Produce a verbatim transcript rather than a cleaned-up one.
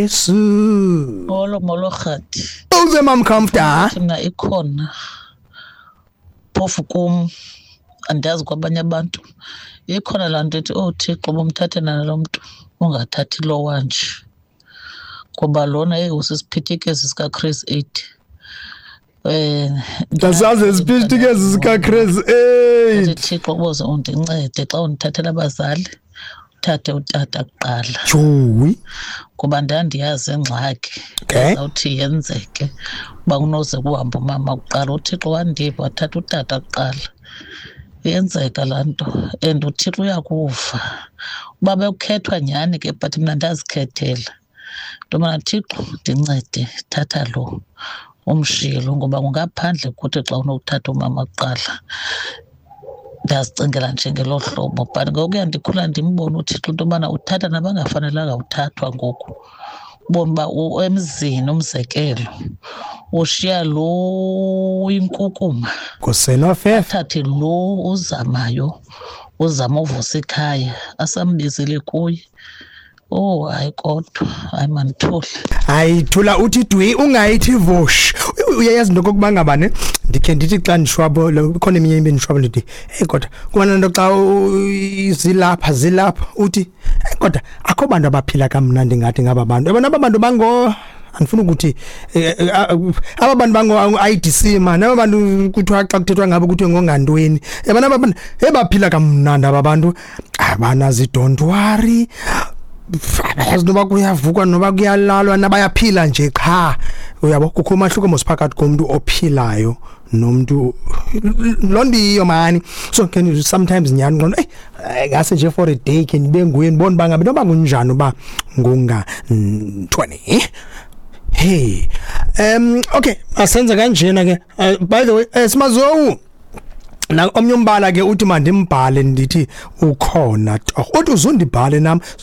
Yesu. Molo, molo Rhadi. Uze, Mam Comfort. Mna ikhona, phofu kum andiyazi kwabanye abantu, ikhona laa nto ithi, "Oh Thixo, bomthathe nalo mntu, ungathathi lowa nje, ngoba lona eyi usisiphithikezi sikaChris eight." um Ndasazi isiphithikezi sikaChris eight. Thixo, uboze undincede xa undithathela abazali, uthathe utata kuqala, Jowi. Kuba ndandiyazi ingxaki Okay. ezawuthi yenzeke uba kunoze kuhambe umama kuqala. UThixo wandiva, wathatha utata kuqala. Iyenzeka laa nto and uThixo uyakuva uba bekukhethwa nyhani ke, but mna ndazikhethela into yobana, "Thixo, ndincede, thatha lo, umshiye lo, ngoba kungaphandle kuthi xa unokuthatha umama kuqala." Ndazicingela nje ngelo hlobo, but ngokuya ndikhula ndimbone uThixo into yobana uthatha nabangafanelanga uthathwa. Ngoku ubone uba u- emzini, umzekelo, ushiya lo inkukuma, Kusenofefe. athathe lo uzamayo, uzama uvusa ikhaya, asambizile kuye. Oh hayi, kodwa hayi, mandithule. Hayi, thula, uthi dwi, ungayithi vosh. Uyayazi into kokuba ngaba ne ndikhe ndithi xa ndishwabo, ikhona eminye into endishwabo, ndithi, "Hey, kodwa kubana nto xa u- zilapha zilapha uthi, "Hey, kodwa akho bantu abaphila kamnandi ngathi ngaba bantu." Yabona aba bantu bango, andifuna ukuthi eh, eh, aba bantu bango I D C man, aba bantu kuthiwa xa kuthethwa ngabo kuthiwe ngongantweni. Yabona aba bantu ebaphila kamnandi, aba bantu abanazi, don't worry, abayazi noba kuyavukwa noba kuyalalwa, nabayaphila nje qha. Uyabo, kukho umahluko mos phakathi komuntu ophilayo nomuntu loo nto iyiyo mani. So can you sometimes nyhani ngqondo, eyi, ngase nje for a day khe ndibe nguye, ndibone uba ngabe noba kunjani uba ngungantweni. Hey, um okay, asenze kanjena ke. uh, by the way, eh, Simazowu na omnye umbala ke uthi mandimbhale, ndithi ukhona torho, uthi uzundibhale nam.